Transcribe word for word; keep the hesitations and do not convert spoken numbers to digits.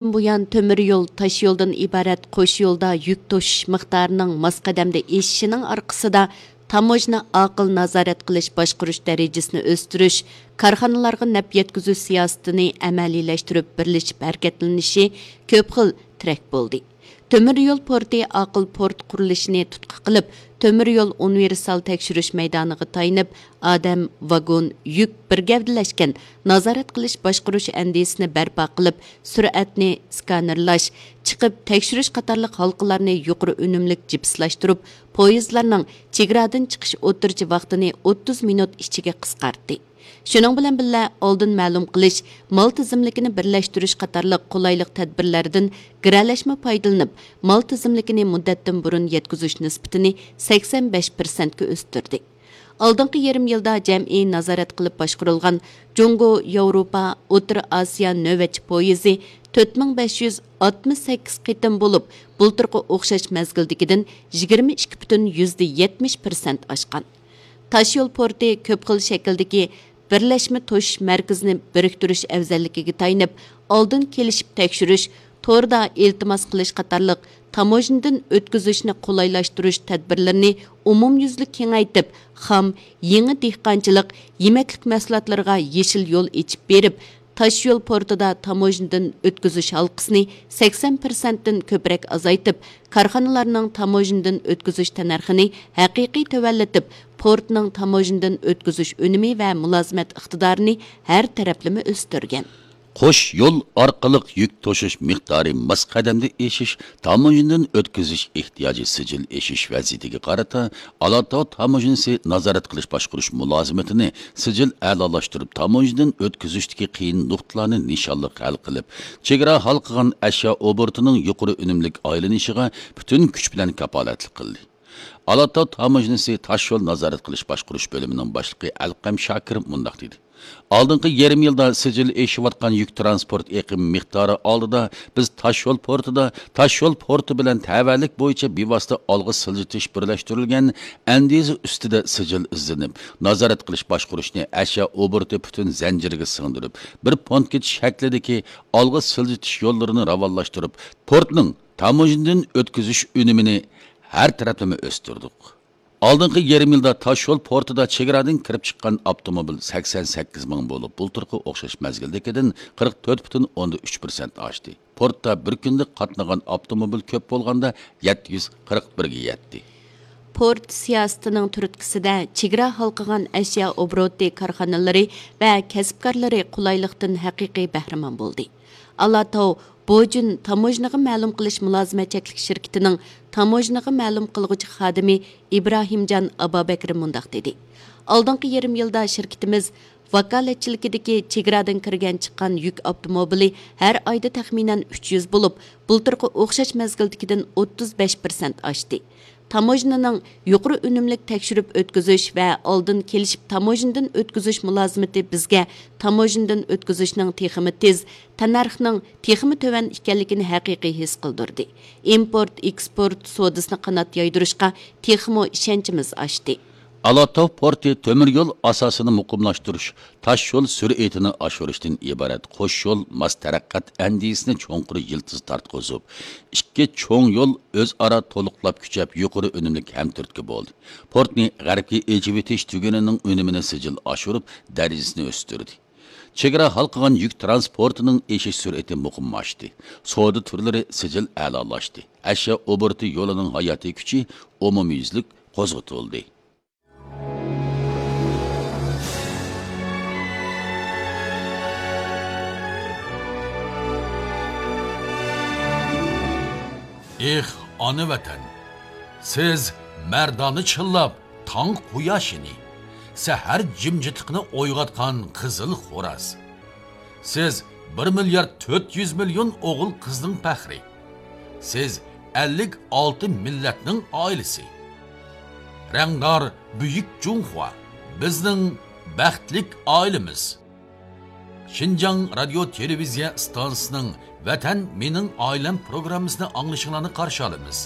بۇيان، تۆمۈر يول، تاش يولدىن ئىبارەت قوش يولدا يۈك توشۇش مىقدارىنىڭ ماس قەدەمدە ئېشىشىنىڭ ئارقىسىدا، تاموژنا ئاقىل نازارەت قىلىش باشقۇرۇش دەرىجىسىنى ئۆستۈرۈش، كارخانىلارغا نەپ يەتكۈزۈش سىياسىتىنى ئەمەلىيلەشتۈرۈپ بىرلىشىپ ھەرىكەتلىنىشى كۆپ خىل تىرەك بولدى. تۆمۈر يول پورتى ئاقىل پورت قۇرۇلۇشىنى تۇتقا قىلىپ، تۆمۈر يول ئۇنىۋېرسال تەكشۈرۈش مەيدانىغا تايىنىپ، ئادەم، ۋاگون، يۈك بىر گەۋدىلەشكەن نازارەت قىلىش باشقۇرۇش ئەندىزىسىنى بەرپا قىلىپ، سۈرئەتنى سكانېرلاش، چىقىپ تەكشۈرۈش قاتارلىق ھالقىلارنى يۇقىرى ئۈنۈملۈك جىپسلاشتۇرۇپ، پويىزلارنىڭ چېگرادىن چىقىش ئوتتۇرىچە ۋاقتىنى ئوتتۇز مىنۇت ئىچىگە قىسقارتتى. شۇنىڭ بىلەن بىللە، ئالدىن مەلۇم قىلىش، مال تىزىملىكىنى بىرلەشتۈرۈش قاتارلىق قولايلىق تەدبىرلەردىن گىرەلەشمە پايدىلىنىپ، مال تىزىملىكىنى مۇددەتتىن بۇرۇن يەتكۈزۈش نىسبىتىنى سەكسەن بەش پىرسەنتكە ئۆستۈردى. ئالدىنقى يېرىم يىلدا جەمئىي نازارەت قىلىپ باشقۇرۇلغان جۇڭگو، ياۋروپا، ئوتتۇرا ئاسىيا نۆۋەتچى پويىزى تۆت مىڭ بەش يۈز ئاتمىش سەككىز قېتىم بولۇپ، بۇلتۇرقى ئوخشاش مەزگىلدىكىدىن يىگىرمە ئىككى پۈتۈن يۈزدە يەتمىش پىرسەنت ئاشقان. تاشيول پورتى كۆپ خىل شەكىلدىكى بىرلەشمە توشۇش مەركىزىنى بىرىكتۈرۈش ئەۋزەللىكىگە تايىنىپ، ئالدىن كېلىشىپ تەكشۈرۈش، توردا ئىلتىماس قىلىش قاتارلىق تاموژنىدىن ئۆتكۈزۈشنى قولايلاشتۇرۇش تەدبىرلىرىنى ئومۇميۈزلۈك كېڭەيتىپ، خام، يېڭى دېھقانچىلىق، يېمەكلىك مەھسۇلاتلىرىغا يېشىل يول ئېچىپ بېرىپ، تاشيول پورتىدا تاموژنىدىن ئۆتكۈزۈش ھالقىسىنى سەكسەن پىرسەنتتىن كۆپرەك ئازايتىپ، كارخانىلارنىڭ تاموژنىدىن ئۆتكۈزۈش تەننەرخىنى ھەقىقىي تۆۋەنلىتىپ، پورتنىڭ تاموژنىدىن ئۆتكۈزۈش ئۈنۈمى ۋە مۇلازىمەت ئىقتىدارىنى ھەر تەرەپلىمە ئۆستۈرگەن. قوش يول ئارقىلىق يۈك توشۇش مىقدارى ماس قەدەمدە ئېشىش، تاموژنىدىن ئۆتكۈزۈش ئېھتىياجى سىجىل ئېشىش ۋەزىيىتىگە قارىتا، ئالاتاۋ تاموژنىسى نازارەت قىلىش باشقۇرۇش مۇلازىمىتىنى سىجىل ئەلالاشتۇرۇپ، تاموژنىدىن ئۆتكۈزۈشتىكى قىيىن نۇقتىلارنى نىشانلىق ھەل قىلىپ، چېگرا ھالقىغان ئەشيا ئوبوروتىنىڭ يۇقىرى ئۈنۈملۈك ئايلىنىشىغا پۈتۈن كۈچ بىلەن كاپالەتلىك قىلدى. ئالاتاۋ تاموژنىسى تاشيول نازارەت قىلىش باشقۇرۇش بۆلۈمىنىڭ باشلىقى ئەلقەم شاكىر مۇنداق دېدى: ئالدىنقى يېرىم يىلدا سىجىل ئېشىۋاتقان يۈك تىرانسپورت ئېقىمى مىقدارى ئالدىدا، بىز تاشيول پورتىدا، تاشيول پورتى بىلەن تەۋەلىك بويىچە بىۋاسىتە ئالغا سىلجىتىش بىرلەشتۈرۈلگەن ئەندىزە ئۈستىدە سىجىل ئىزدىنىپ، نازارەت قىلىش باشقۇرۇشنى ئەشيا ئوبوروتى پۈتۈن زەنجىرىگە سىڭدۈرۈپ، بىر پونت كېتىش شەكلىدىكى ئالغا سىلجىتىش يوللىرىنى راۋانلاشتۇرۇپ، پورتنىڭ تاموژنىدىن ئۆتكۈزۈش ئۈنۈمىنى ھەر تەرەپلىمە ئۆستۈردۇق. ئالدىنقى يېرىم يىلدا تاشيول پورتىدا چېگرادىن كىرىپ چىققان ئاپتوموبىل سەكسەن سەككىز مىڭ بولۇپ، بۇلتۇرقى ئوخشاش مەزگىلدىكىدىن قىرىق تۆت پۈتۈن ئوندىن ئۈچ پىرسەنت ئاشتى. پورتتا بىر كۈندە قاتنىغان ئاپتوموبىل كۆپ بولغاندا يەتتە يۈز قىرىق بىرگە يەتتى. پورت سىياسىتىنىڭ تۈرتكىسىدە چېگرا ھالقىغان ئەشيا ئوبوروتى كارخانىلىرى ۋە كەسىپكارلىرى قولايلىقتىن ھەقىقىي بەھرىمەن بولدى. ئالاتاۋ بوجۈن تاموژنىغا مەلۇم قىلىش مۇلازىمەت چەكلىك شىركىتىنىڭ تاموژنىغا مەلۇم قىلغۇچى خادىمى ئىبراھىمجان ئابابەكرى مۇنداق دېدى: ئالدىنقى يېرىم يىلدا شىركىتىمىز ۋاكالەتچىلىكىدىكى چېگرادىن كىرگەن چىققان يۈك ئاپتوموبىلى ھەر ئايدا تەخمىنەن ئۈچ يۈز بولۇپ، بۇلتۇرقى ئوخشاش مەزگىلدىكىدىن ئوتتۇز بەش پىرسەنت ئاشتى. تاموژنىنىڭ يۇقىرى ئۈنۈملۈك تەكشۈرۈپ ئۆتكۈزۈش ۋە ئالدىن كېلىشىپ تاموژنىدىن ئۆتكۈزۈش مۇلازىمىتى بىزگە تاموژنىدىن ئۆتكۈزۈشنىڭ تېخىمۇ تېز، تەننەرخنىڭ تېخىمۇ تۆۋەن ئىكەنلىكىنى ھەقىقىي ھېس قىلدۇردى. ئىمپورت، ئېكسپورت سودىسىنى قانات يايدۇرۇشقا تېخىمۇ ئىشەنچىمىز ئاشتى. ئالاتاۋ پورتى تۆمۈر يول ئاساسىنى مۇقىملاشتۇرۇش، تاش يول سۈرئىتىنى ئاشۇرۇشتىن ئىبارەت قوش يول ماس تەرەققىيات ئەندىزىسىنى چوڭقۇر يىلتىز تارتقۇزۇپ، ئىككى چوڭ يول ئۆزئارا تولۇقلاپ كۈچەپ، يۇقىرى ئۈنۈملۈك ھەمتۈرتكە بولدى. پورتنى غەربكە ئېچىۋېتىش تۈگۈنىنىڭ ئۈنۈمىنى سىجىل ئاشۇرۇپ، دەرىجىسىنى ئۆستۈردى. چېگرا ھالقىغان يۈك تىرانسپورتىنىڭ ئېشىش سۈرئىتى مۇقىملاشتى. سودا تۈرلىرى سىجىل ئەلالاشتى. ئەشيا ئوبوروتى يولىنىڭ ھاياتىي كۈچى ئومۇميۈزلۈك قوزغىتىلدى. ئېھ، ئانا ۋەتەن! سىز مەردانە چىللاپ تاڭ قۇياشىنى، سەھەر جىمجىتلىقىنى ئويغاتقان قىزىل خوراز. سىز بىر مىليارد تۆت يۈز مىليون ئوغۇل قىزنىڭ پەخرى. سىز ئەللىك ئالتە مىللەتنىڭ ئائىلىسى. رەڭدار بۈيۈك جۇڭخۇا، بىزنىڭ بەختلىك ئائىلىمىز. شىنجاڭ رادىيو تېلېۋىزىيە ئىستانسىسىنىڭ ۋەتەن مېنىڭ ئائىلەم پروگراممىسىنى ئاڭلىشىڭلارنى قارشى ئالىمىز.